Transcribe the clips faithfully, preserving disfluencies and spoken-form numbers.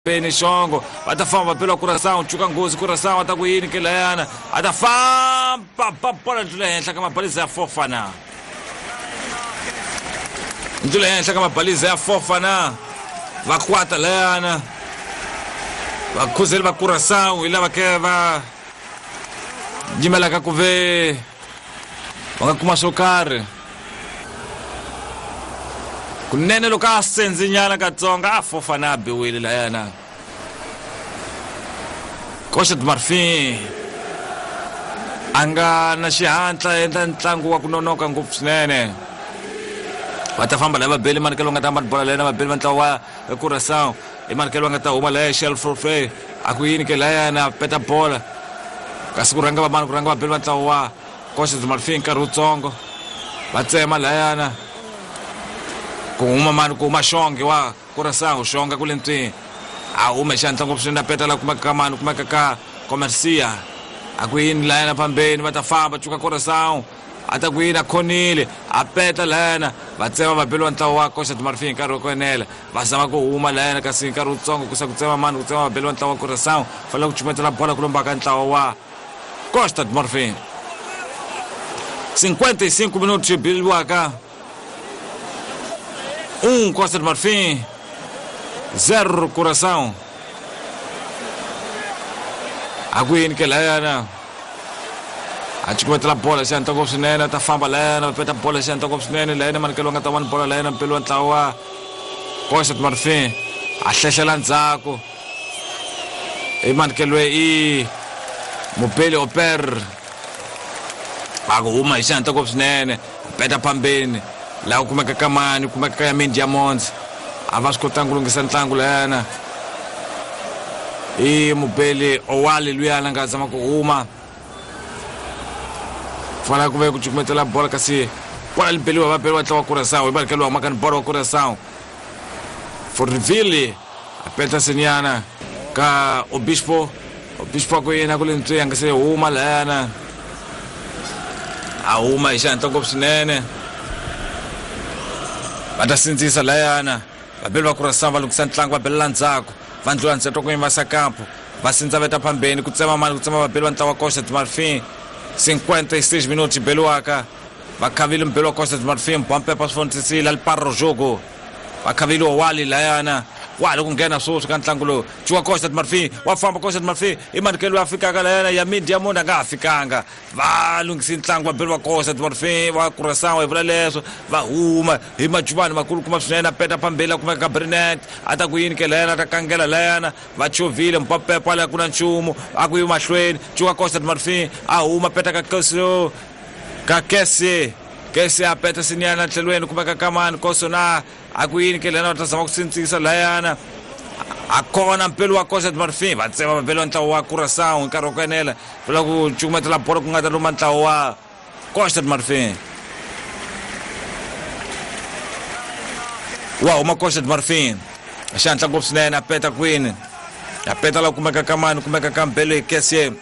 phambeni Xongo va ta famba va bela Curaçao chuka nghozi Curaçao ta ku yini ke layana a ta famba ba bola ndlula henhla ka mabaliza ya Fofana ndlula henhla ka mabaliza ya Fofana va kwata layana vakhuzeli va Curaçao hi lava ke va yimelaka ku ve va nga kuma swo karhi kunene loko a senzinyana katsongo a Fofana a biwile layana Costa do Marfim a nga na xihatla endla ntlangu wa ku nonoka ngopfu swinene va ta famba lava beli manikelo nga ta hamba bola layana va beli va ntlawa wa Curaçao i manikelo nga ta huma laya Shell Forfait a ku yini ke layana peta bola kasi ku rhanga va mani ku rhanga va beli va ntlawa wa Costa do Marfim nkarhi wutsongo va tsema layana ku huma mani ku huma Xonge wa Curaçao Xonga ku le ntswini a huma hi xihatla ngopfu swinene a peta la kumeka ka mani kumeka ka Comercia a ku yini layana phambeni va ta famba cuka Curaçao a ta ku yini a khonile a peta layana va tsema va beliwa ntlawa wa Costa do Marfim nkarhi wa ku enela va zama ku huma layana kasi nkarhi wutsongo ku sa ku tsema mani ku tsema va beliwa ntlawa wa Curaçao fanele ku cumetela bola ku lombaka ntlawa wa Costa do Marfim cinquenta e cinco minutos biliwaka um Costa do Marfim zero Curaçao a ku yini ke layana a cukumetela bola xihatla ngopfu swinene a ta famba layana va peta bola xihatla ngopfu swinene layana manikelo nga ta wani bola layana mpeli wa ntlawa wa Costa do Marfim a hlehlela ndzhaku i manikelo i mupeli oper a ku huma hi xihatla ngopfu swinene a peta phambeni laha ku kumeka ka mani ku kumeka ka Yamin Diamonds a va swi kotanga ku lunghisa ntlangu layana i mubeli Owali luyana nga zama ku huma fanele ku ve ku cukumetela bola kasi bola li beliwa va beliwa ntlawa wa Curaçao hi manikelo wa humaka ni bola wa Curaçao Forville a peta senyana ka Obispo Obispo a ku yena ku le ntswi a nga se huma layana a huma hi xihatla ngopfu swinene va ta sindzisa layana vabeli va Curaçao va lunghisa ntlangu va belela ndzhaku va ndlula ntsheto ku yimasa kampo va sindza veta phambeni ku tsema mani ku tsema vabeli va ntlawa wa Costa do Marfim cinquenta e seis minutos beliwaka va khavile mubeli wa Costa do Marfim bompepa swi fontisile ali parro jogo va khavile Owali layana wa ha ku nghena sweswi ka ntlangu lowu cuka Costa do Marfim wa famba Costa do Marfim i manikelo ya fikaka layana Yamin Diamond a nga ha fikanga va lunghisi ntlangu va beli va Costa do Marfim va Curaçao hi vula leswo va huma hi majubani makulukumba swinene a peta phambeni a kumeka ka Brinet a ta ku yini ke layana a ta kangela layana va chovile mpapepo ala ku na nchumu a ku yi mahlweni cuka Costa do Marfim a huma peta ka Kesio ka Kese Kese a peta sinyana tlhelweni kumeka ka mani Kosona a ku yini ke lena va ta zama ku sindzisa layana a kona mpelo wa Costa do Marfim va tsema va beliwa ntlawa wa Curaçao nkarhi wa ku enela vula ku cukumetela bola ku nga ta luma ntlawa wa Costa do Marfim wa huma Costa do Marfim xihatla ngopfu swinene a peta kwini a peta la kumeka ka mani kumeka ka mbelo hi Kese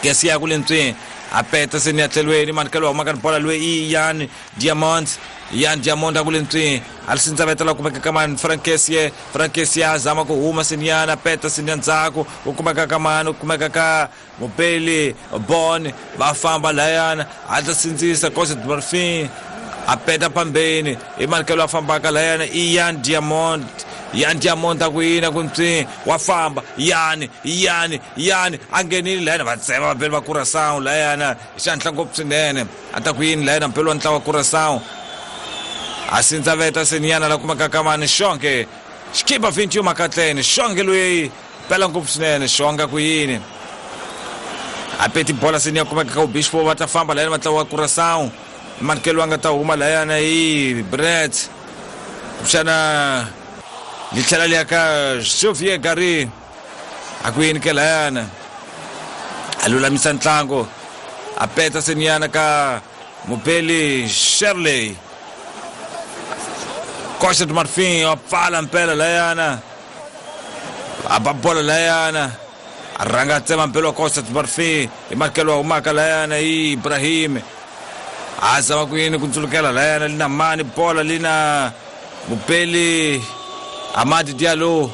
Kese ya ku le ntswini a peta seni ya tlhelweni manikelo wa humaka ni bola loyi i Yan Diamond Yan Diamond a ku le ntswini a li sindza veta la kumeka ka mani Frankesie Frankesie a zama ku huma sinyana peta sinya ndzhaku ku kumeka ka mani ku kumeka ka mubeli Bon va famba layana a ta sindzisa Costa do Marfim a peta phambeni i manikelo a fambaka layana i Yan Diamond Yan Diamond a ku yini ku ntswini wa famba Yani Yani Yani a nghenile layana va tsema va beli va Curaçao layana hi xihatla ngopfu swinene a ta ku yini layana mpeli wa ntlawa wa Curaçao a sindza veta sinyana la kumeka ka mani Xonge xikipa vinte e um makatleni Xonge loyi pela ngopfu swinene Xonga ku yini a peti bola seniya kumeka ka Obispo va ta famba layana va ntlawa wa Curaçao manikelo a nga ta huma layana hi Brett kuxana li tlhela li ya ka Xavier Gary a ku yini ke layana a lulamisa ntlangu a peta sinyana ka mubeli Shirley Costa do Marfim a pfala mpela layana a ba bola layana a rhanga a tsema mpela wa Costa do Marfim hi manikelo wa humaka layana hi Ibrahim a zama ku yini ku ndzulukela layana li na mani bola li na mubeli Amadi Diallo